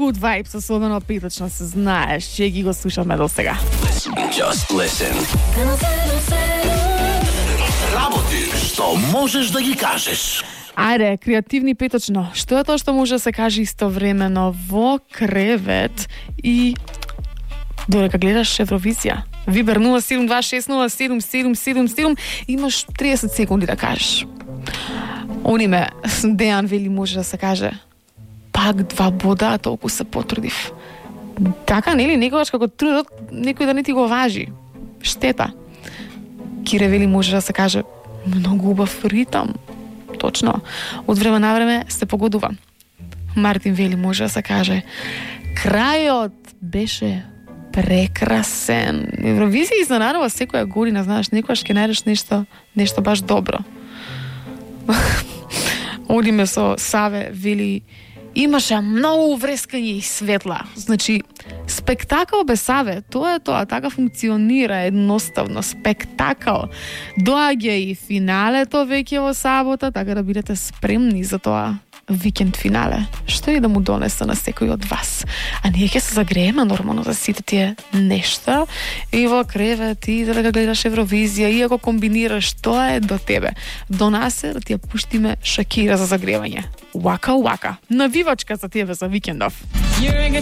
good vibes, особено петочно, се знаеш, че ги го слушаме до сега. Just listen. Работи што можеш да ги кажеш. Ајде, креативни петочно. Што е тоа што може да се каже истовремено во кревет и додека гледаш Евровизија? Вибер 0726077777, имаш 30 секунди да кажеш. Ониме, Дејан вели може да се каже пак 2 бода, а толку се потрудив. Така, нели, некогаш како трудот, некој да не ти го важи. Штета. Кире вели може да се каже многу убав ритам. Точно. Од време на време се погодува. Мартин вели може да се каже крајот беше прекрасен. Евровизија изненадува секоја година, знаеш, некогаш ќе најдеш нешто баш добро. Одиме со Саве, вели имаше многу врескање и светла. Значи, спектакл без Саве, тоа е тоа, така функционира едноставно, спектакл. Доаѓа и финалето веќе во сабота, така да бидете спремни за тоа викенд финале. Што и да му донесе на секој од вас. А ние ќе се загрееме нормално за сите тие нешта и во кревет и да гледаш Евровизија и ако комбинираш, тоа е до тебе. До нас е да ти ја пуштиме Шакира за загревање. Waka Waka. Навивачка за тебе за викендов. You're